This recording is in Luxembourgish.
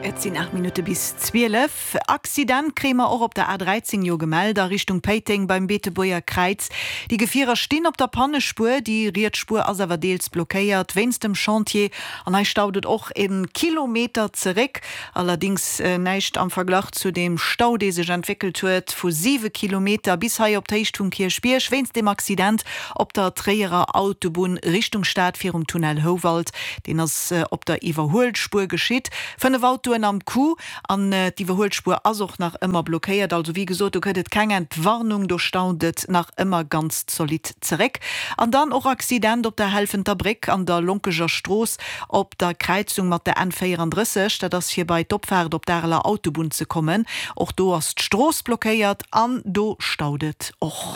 Et sinn 8 Minutte bis 12. Accident kréie mer och op der A13 jo gemellt a Richtung Péiteng beim Beetebuerger Kräiz. Déi Gefierer stinn op der Pannespuer, déi riets Spuer ass awer deels blockéiert wéinst dem Chantier an hei staut et och e Kilometer zeréck. Allerdings näischt am Verglach zu deem Stau dee sech entwéckelt huet vu 7 Kilometer bis hei op d'Héicht vum Kierchbierg wéinst dem Accident op der Tréierer Autobunn Richtung Stad virum Tunnel Houwald. Deen ass op der Iwwerhuelspuer geschitt. 5 Autoen am Coup an d'Iwwerhuelspuer ass och nach ëmmer blockéiert. Also wéi gesot, do gëtt et keng Entwarnung, do staunt et nach ëmmer ganz zolidd zeréck. An dann och Accident op der Helfenter Bréck an der Lonkeger Strooss op der Kräizung mat der N 34. Dat ass fir bei d'Opfaart op d'Areler Autobunn ze kommen. Och do ass d'Strooss blockéiert an do staut et och.